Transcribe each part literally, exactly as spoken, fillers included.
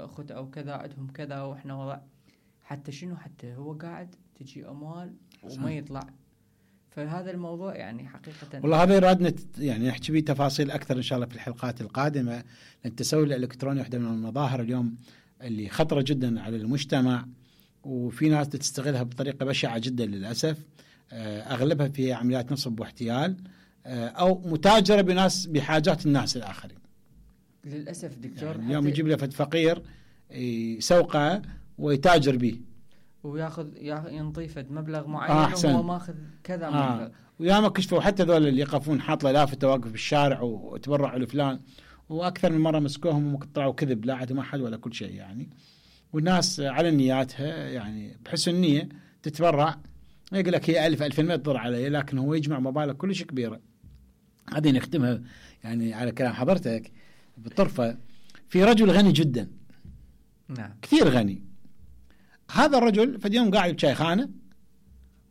اخوته او كذا عندهم كذا واحنا وضع حتى شنو حتى هو قاعد تجي اموال وما يطلع. فهذا الموضوع يعني حقيقة والله هذا يرادنا يعني نحكي به تفاصيل أكثر إن شاء الله في الحلقات القادمة، لأن التسول الإلكتروني واحدة من المظاهر اليوم اللي خطرة جدا على المجتمع، وفي ناس تستغلها بطريقة بشعة جدا للأسف. أغلبها في عمليات نصب واحتيال أو متاجرة بناس بحاجات الناس الآخرين للأسف دكتور. يعني اليوم يجيب له فقير يسوقه ويتاجر به وياخذ ينطيفد مبلغ معين آه وهو ماخذ كذا آه مبلغ. وياما كشفوا حتى ذول اللي يقفون حاط له لافتة واقف بالشارع وتبرعوا لفلان، واكثر من مره مسكوهم وطلعوا كذب لا عندهم احد ولا كل شيء يعني. والناس على نياتها يعني بحسن نيه تتبرع، يقول لك هي ألف ألفين ما تضر علي، لكن هو يجمع مبالغ كلش كبيره. هذه نختمها يعني على كلام حضرتك بالطرفه. في رجل غني جدا، نعم كثير غني، هذا الرجل في اليوم قاعد بشايخانه،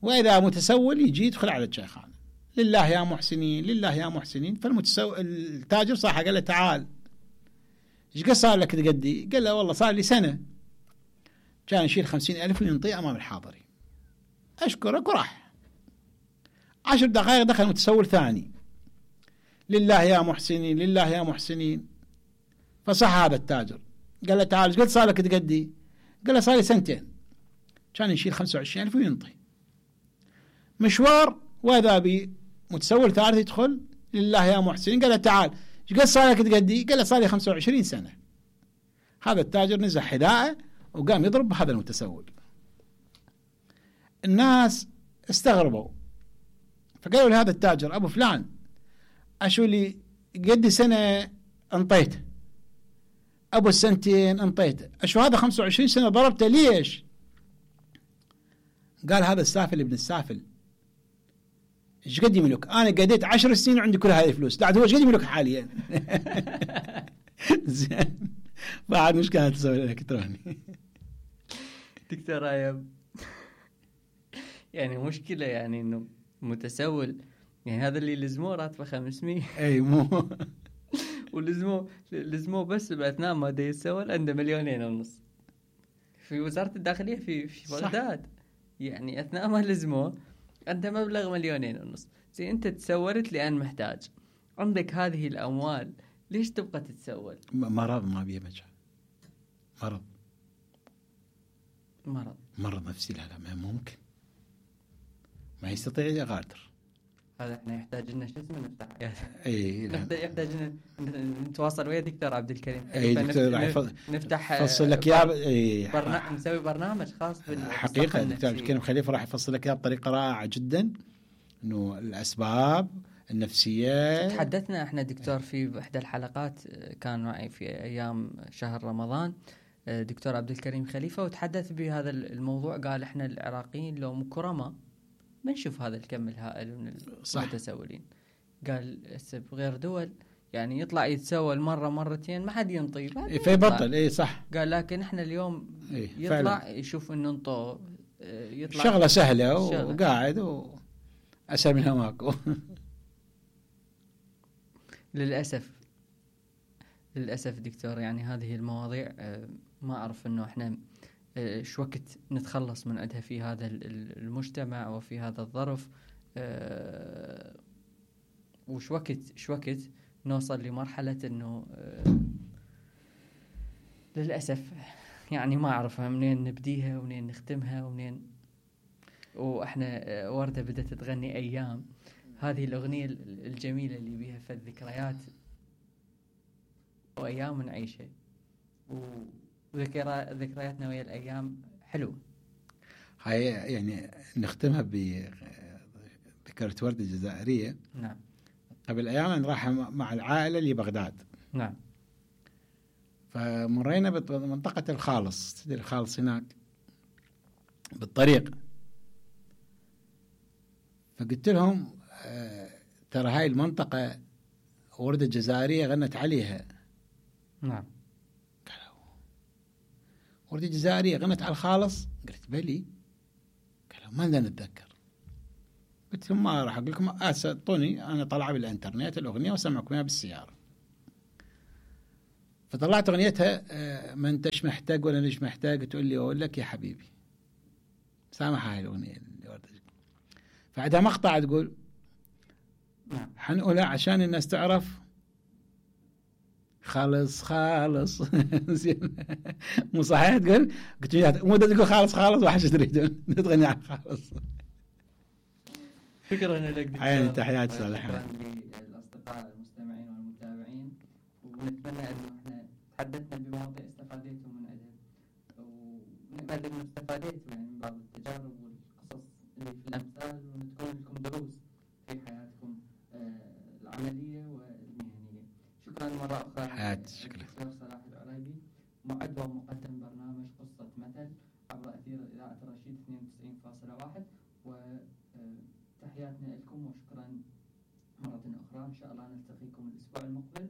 وإذا متسول يجي يدخل على الشيخانة، لله يا محسنين لله يا محسنين. فالمتسول التاجر صاحه قال له تعال ايش قد صار لك تقدي؟ قال له والله صار لي سنة كان يشيل خمسين ألف وينطيه أمام الحاضرين. أشكرك وراح. عشر دقائق دخل متسول ثاني، لله يا محسنين لله يا محسنين. فصح هذا التاجر قال له تعال ايش قد صار لك تقدي؟ قال له صار لي سنتين كان يشيل خمسة وعشرين ألف وينطي. مشوار وإذا بي متسول ثالث يدخل، لله يا محسنين. قال له تعال ايش قد صار لك تقدي؟ قال له صار لي خمسة وعشرين سنة. هذا التاجر نزع حذاءه وقام يضرب بهذا المتسول. الناس استغربوا فقالوا لهذا التاجر أبو فلان أشو لي قد سنة انطيته، أبو السنتين انطيته، أشو هذا خمسة وعشرين سنة ضربته ليش؟ قال هذا السافل ابن السافل ايش قد يملك؟ انا قديت عشر سنين وعندي كل هذه الفلوس، لا هو ايش قد يملك حاليا؟ زين بعد مش كانت تسوي الالكتروني. دكتور ايام يعني مشكله يعني انه متسول يعني هذا اللي لزموه راتبه خمسمية اي مو ولزموه لزموه بس باثناء ما دا يتسول عنده مليونين ونص في وزاره الداخليه في في بغداد. يعني أثناء ما لزموه عنده مبلغ مليونين ونص. زي أنت تسولت لأن محتاج، عندك هذه الأموال ليش تبقى تتسول؟ مرض ما بيه مجال، مرض مرض مرض نفسي. لا لا ما ممكن، ما يستطيع يغادر. هذا احنا يحتاج لنا شو اسمه نفتح اي يحتاج لنا نتواصل ويا دكتور عبد الكريم. اي دكتور نف... نفتح فصل لك يا برنامج نسوي برنامج خاص بالحقيقه. دكتور عبد الكريم خليفه راح يفصل لك اياه بطريقه رائعه جدا، انه الاسباب النفسيه. تحدثنا احنا دكتور في احدى الحلقات كان معي في ايام شهر رمضان دكتور عبد الكريم خليفه، وتحدث بهذا الموضوع. قال احنا العراقيين لو مكرمه ما نشوف هذا الكم الهائل من المتسولين. قال بغير دول يعني يطلع يتسول مرة مرتين ما حد ينطي فيبطل. اي صح. قال لكن احنا اليوم إيه يطلع فعلا. يشوف انه انطو يطلع شغلة سهلة وقاعد وأسهل منها ماكو. للأسف للأسف دكتور يعني هذه المواضيع ما أعرف انه احنا شو وقت نتخلص من عندها في هذا المجتمع وفي هذا الظرف، أه وش وقت شو وقت نوصل لمرحلة انه أه للأسف يعني ما أعرف منين نبديها ومنين نختمها ومنين. وإحنا وردة بدأت تغني أيام، هذه الأغنية الجميلة اللي بيها في الذكريات وأيام نعيشها وذكرى ذكرياتنا ويا الأيام حلوة. هاي يعني نختمها بذكرى وردة الجزائرية. نعم. قبل أيام راح مع العائلة لبغداد. نعم. فمرينا بمنطقة الخالص، تدري الخالص هناك بالطريق. فقلت لهم آه ترى هاي المنطقة وردة جزائرية غنت عليها. نعم. قالوا وردة جزائرية غنت على الخالص؟ قلت بلي. قالوا ما لنا نتذكر. قلت لهم ما راح أقول لكم، أعطوني أنا طلع بالإنترنت الأغنية وسمعكم إياها بالسيارة. فطلعت اغنيتها آه، ما انتش محتاج ولا مش محتاج، تقول لي اقول لك يا حبيبي. سامحها هاي الاغنيه اللي وردت. فعندها مقطع تقول حنقولها عشان الناس تعرف خالص خالص. زين مو صحيح تقول؟ قلت له مو تقول خالص خالص وحش تريدون تغني عن خالص. شكرا لك دكتور. عيني تحياتي صالح. شكرا للاصدقاء المستمعين والمتابعين، ونتمنى انه احنا تحدثنا بمواضيع استفاديتم من عندها، ونأمل انه استفاديتوا يعني من بعض التجارب والقصص اللي في الامثال، وتكون لكم دروس في حياتكم آه العمليه والمهنيه. شكرا مره اخرى. حياتي شكرا. دكتور صلاح العريبي، معد ومقدم برنامج قصه مثل عبر اثير اذاعه الرشيد اثنين وتسعين فاصلة واحد، وتحياتنا لكم وشكرا مرة أخرى. إن شاء الله نلتقيكم الأسبوع المقبل.